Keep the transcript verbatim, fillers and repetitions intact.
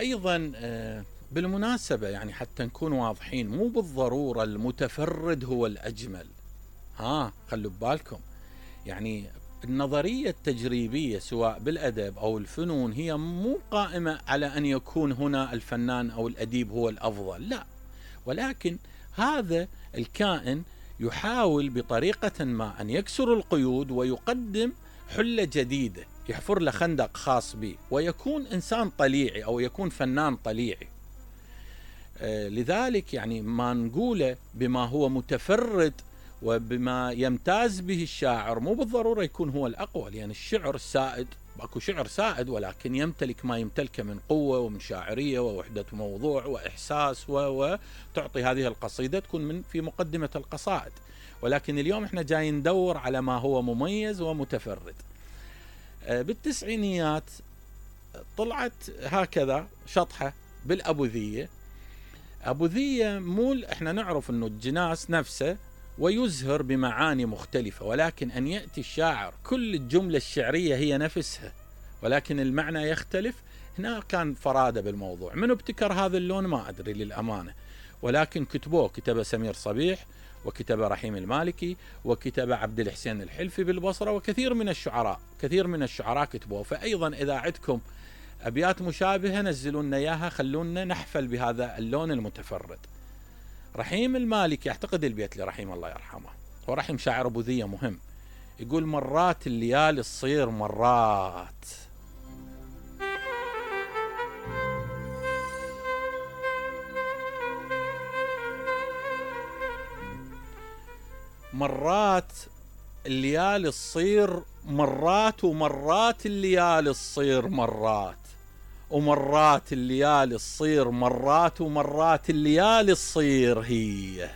وأيضا بالمناسبة يعني حتى نكون واضحين، مو بالضرورة المتفرد هو الأجمل. ها خلوا ببالكم، يعني النظرية التجريبية سواء بالأدب أو الفنون هي مو قائمة على أن يكون هنا الفنان أو الأديب هو الأفضل، لا، ولكن هذا الكائن يحاول بطريقة ما أن يكسر القيود ويقدم حلة جديدة، يحفر له خندق خاص به ويكون إنسان طليعي أو يكون فنان طليعي. آه لذلك يعني ما نقوله بما هو متفرد وبما يمتاز به الشاعر مو بالضرورة يكون هو الأقوى، لأن يعني الشعر السائد، اكو شعر سائد ولكن يمتلك ما يمتلكه من قوة ومن شاعرية ووحدة موضوع وإحساس، وتعطي هذه القصيدة تكون من في مقدمة القصائد. ولكن اليوم احنا جايين ندور على ما هو مميز ومتفرد. بالتسعينيات طلعت هكذا شطحة بالأبوذية. أبوذية مول احنا نعرف انه الجناس نفسه ويزهر بمعاني مختلفة، ولكن أن يأتي الشاعر كل الجملة الشعرية هي نفسها ولكن المعنى يختلف، هنا كان فرادة بالموضوع. من ابتكر هذا اللون ما أدري للأمانة، ولكن كتبوه، كتب سمير صبيح وكتب رحيم المالكي وكتب عبد الحسين الحلفي بالبصرة، وكثير من الشعراء كثير من الشعراء كتبوه. فأيضا إذا عندكم أبيات مشابهة نزلوا إياها، خلونا نحفل بهذا اللون المتفرد. رحيم المالكي أعتقد البيت لرحيم الله يرحمه، ورحيم شاعر أبوذية مهم، يقول: مرات الليالي تصير مرات، مرات الليالي تصير مرات، ومرات الليالي تصير مرات، ومرات الليالي تصير مرات، ومرات الليالي تصير هي.